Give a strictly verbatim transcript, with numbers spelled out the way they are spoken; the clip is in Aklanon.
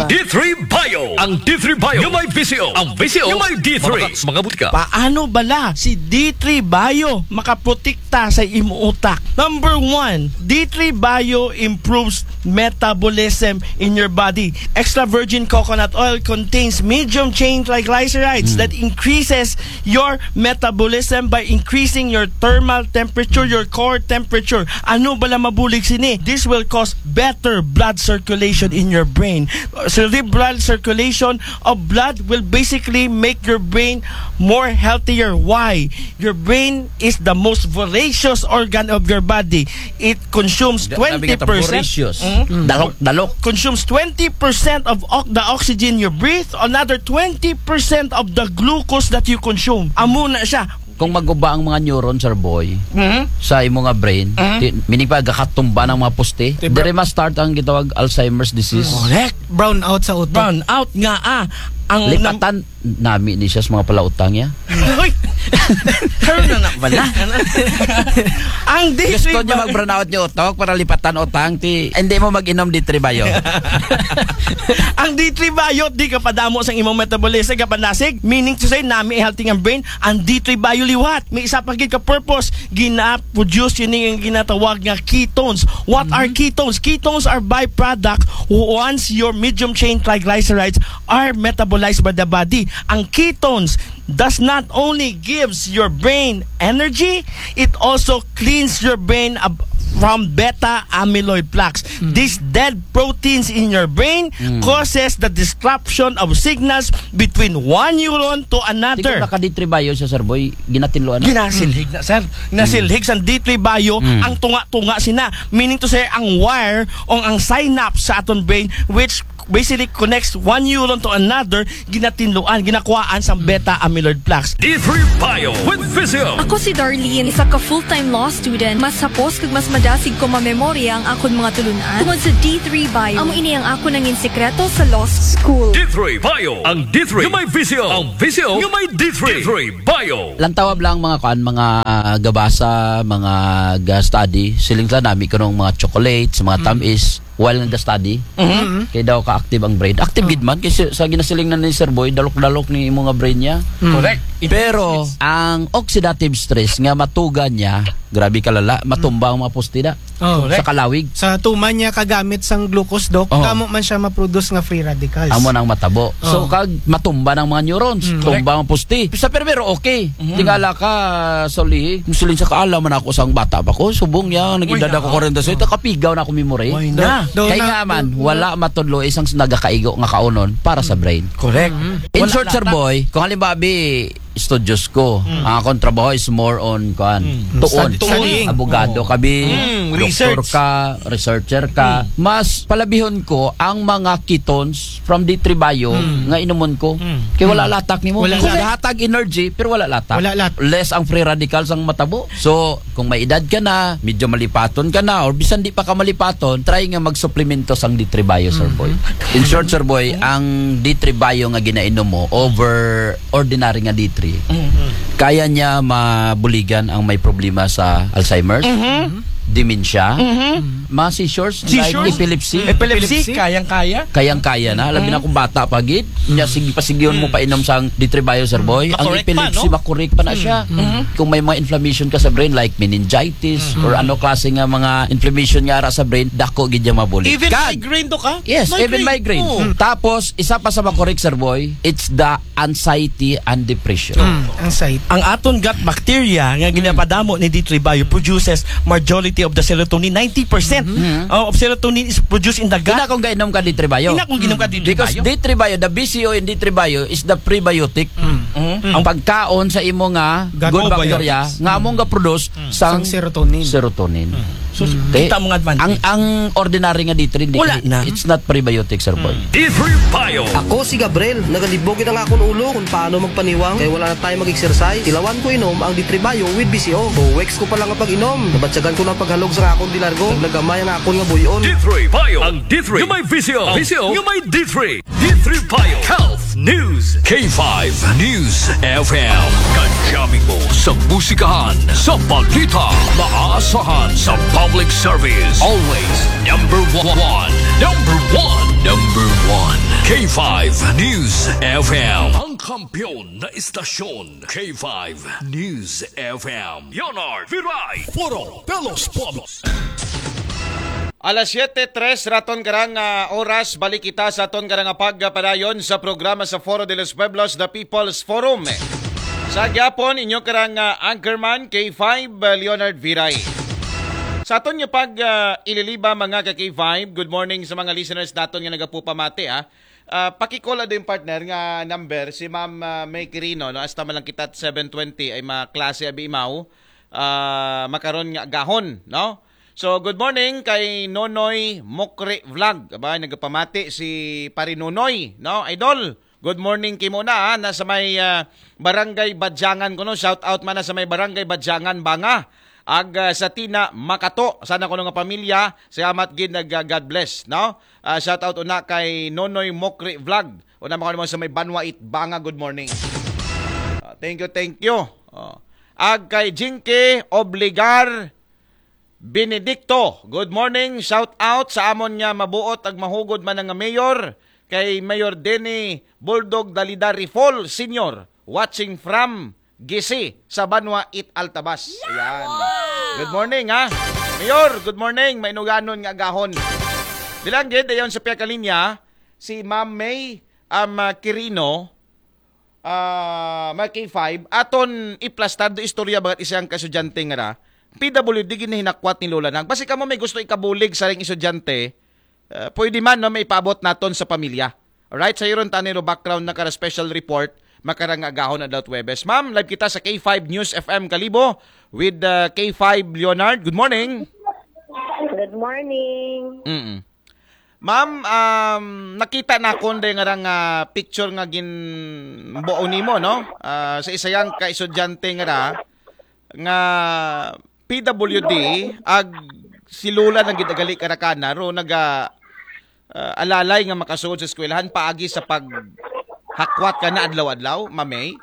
D three Bio. Ang D three Bio nga may visyo. Ang visyo nga may D three. Mga butika. Paano bala si D three Bio makaprotekta sa imo utak? Number one, D three Bio improves metabolism in your body. Extra virgin coconut oil contains medium chain triglycerides that increases your metabolism by increasing your thermal temperature, your core temperature. Ano bala mabulig sini? This will cause better blood circulation in your brain. Cerebral circulation of blood will basically make your brain more healthier. Why? Your brain is the most voracious organ of your body. It consumes twenty percent. Voracious. Dalok, dalok. Consumes twenty percent of ox- the oxygen you breathe, another twenty percent of the glucose that you consume. Amo na siya. Kung maguba ang mga neuron, sir boy, sa imo nga brain, ti- meaning pa, gakatumba ng mga poste, dire ma-start ang gitawag Alzheimer's disease. Correct. Brown out sa utak. Brown out nga, ah. Ang nam- Lipatan nami ni siya sa mga palautang niya. Uy! Karon na na pala. Ang D three Gusto niya mag-brown out niya utok para lipatan utang, ti hindi mo mag-inom D three Bio. Ang D three Bio, di ka padamo sa imong metabolism, ka panasig, meaning to say, nami healthy nga brain, ang D three Bio liwat. May isa pa gid ka purpose, gina-produce yun yung ginatawag nga ketones. What are ketones? Ketones are byproduct once your medium chain triglycerides are metabolized by the body. Ang ketones does not only gives your brain energy, it also cleans your brain ab- from beta amyloid plaques. These dead proteins in your brain causes the disruption of signals between one neuron to another. Tingnan na ka D three Bio siya, sir boy, ginatinluan na. Ginasilhig na, sir. Ginasilhig sa D three Bio ang tunga-tunga sina. Meaning to say, ang wire o ang synapse sa aton brain, which basically connects one neuron to another, ginatinluan, ginakuhaan sa beta amyloid plaques. D three Bio with Visio. Ako si Darlene, isa ka full-time law student. Mas hapos kag mas madasig ko mamemorya ang akon mga tulunan tungod sa D three Bio. Amo ini ang akon nangin sikreto sa law school. D three Bio. Ang D three nga may visyo. Ang visyo nga may D three. D three Bio. Lantawab lang mga kuan, mga, ah, gabasa, mga ga-study. Siling sa nami kunong mga chocolates, mga tamis, while nag-study. Kay daw ka-active ang brain. Active gid man kay si- sa ginasiling na ni Sir Boy, dalok-dalok ni imo nga brain niya. Correct. Pero ang oxidative stress nga matugan niya, grabe kalala, matumba ang mga poste da. Oh. Sa kalawig. Sa tuman niya kagamit sang glucose, Doc, kamo man siya ma-produce nga free radicals. Amo nang matabo. So, kag matumba ng mga neurons, tumba ang poste. Sa primero, okay. Tingala ka, Solihi, musulin sa kaala man ako sang bata pa ko, subong niya, naging dada ko kwarenta sa ito, kapigaw na ako memory. Why na? Kay nga man, wala matudlo isang nagakaigo nga kaunon para sa brain. Correct. In short, Sir Boy, kung halimbawa, bi, studios ko. Ang akong trabaho is more on, kuan, tuon. Studying. Abogado ka, bi, doktor ka, researcher ka. Mas palabihon ko ang mga ketones from D three Bio nga inumon ko. Kay wala latak nimo. Wala latak. Hatag energy, pero wala latak. Wala latak. Less ang free radicals ang matabo. So, kung may edad ka na, medyo malipaton ka na, or bisan di pa ka malipaton, try nga magsuplemento sang D three Bio, Sir Boy. In short, Sir Boy, ang D three Bio nga ginainom mo over ordinary nga D three, kaya niya mabuligan ang may problema sa Alzheimer's, dementia, mga seizures, like epilepsy. Epilepsy, kayang-kaya. Kayang-kaya na. Labi na kung bata pa gid. Nya, sige, pasigihon mo pa inom sang D three Bio, Sir Boy. Ang epilepsy, makorek pa na siya. Kung may mga inflammation ka sa brain, like meningitis, or ano klase nga mga inflammation nga ara sa brain, dako gid niya mabulig. Even migraine to ka? Yes, even migraine. Tapos, isa pa sa makorek, Sir Boy, it's the anxiety and depression. Anxiety. Ang aton gut bacteria nga ginapadamo ni D three Bio produces majority of the serotonin, ninety percent of serotonin is produced in the gut. Ina kung gainom ka D three Bio. Ina kung ginom ka D three Bio. Because D three Bio, the B C O in D three Bio is the prebiotic. Ang pagkaon sa imo nga good bacteria nga among ga-produce sang serotonin. Serotonin. So, kita mo nga advantage. Ang, ang ordinary nga D three, hindi, wala na. It's not prebiotic, Sir Boy. D three Bio. Ako si Gabriel, nagalibog ang akon ulo kung paano magpaniwang kay wala na tayo mag-exercise. Tilawan ko inom ang D three Bio with B C O. Two weeks ko pa lang ang pag-inom, nabatyagan ko ng paghalog sa akon dilargo. Naglagamay ang akon nga buyon. D three Bio. Ang D three nga may visyo. Visyo nga may D three. D three Bio Health News. K five News F M. Kadyamin mo sa musikahan, sa balita, maaasahan sa public service. Always number one. Number one. Number one. K five News F M. Ang kampiyon na istasyon, K five News F M. Leonard Viray. Foro de los Pueblos. Alas siyete tres raton karang ah, oras, balik kita sa aton karang pagpadayon sa programa sa Foro de los Pueblos, The People's Forum. Sa gyapon, inyo karang ah, anchorman, K five, ah, Leonard Viray. Sa aton nga pag ah, ililiba, mga ka K five, good morning sa mga listeners naton nga nagapupamati, ah. Ah, pakikola din, partner, nga number si Ma'am ah, May Quirino, no? Hasta man lang kita seven twenty ay maklase abi imaw. Ah, makaron nga gahon, no? So, good morning kay Nonoy Mokre Vlog. Aba, nagapamati si Pare Nonoy, no? Idol, good morning kimo na, ha? Nasa may ah, Barangay Badyangan kuno. Shout out man na sa may Barangay Badyangan, Banga. Ag ah, sa Tina Makato, sana kuno nga pamilya. Salamat gid, nag ah, God bless, no? Ah, shout out una kay Nonoy Mokri Vlog. Una mo mo sa may Banwa it Banga, good morning. Ah, thank you, thank you. Oh. Ag kay Jinky Obligar Benedicto, good morning. Shout out sa amon nga mabuot ag mahugod man nga mayor, kay Mayor Denny Bulldog Dalida Rifol Senior, watching from Gisi sa Banwa it Altabas. Ayan. Good morning, ha? Mayor, good morning. Mainuganon nga gahon. Bilang gid, ayon sa pihak kalinya, si Ma'am May um, ah, Quirino, ah, mga K five, aton iplastar do istorya bagat isang ka estudyante nga ra, P W D gid na hinakwat ni Lola Nang. Basi kamo may gusto ikabulig sa ring estudyante, ah, pwede man, no, may ipaabot naton sa pamilya. Alright, sa iron taniro background na kara special report, makarang agahon adlaw Webes. Ma'am, live kita sa K five News F M Kalibo with uh, K five Leonard. Good morning. Good morning. Mm. Ma'am, um, nakita na kon day nga nga picture nga ginbuo nimo, no? Ah, sa isayang ka estudyante nga ra nga P W D, ag si Lola nang gidagali karakana ro naga ah, alalay nga makasuod sa eskwelahan paagi sa paghakwat kana adlaw-adlaw, Mamay?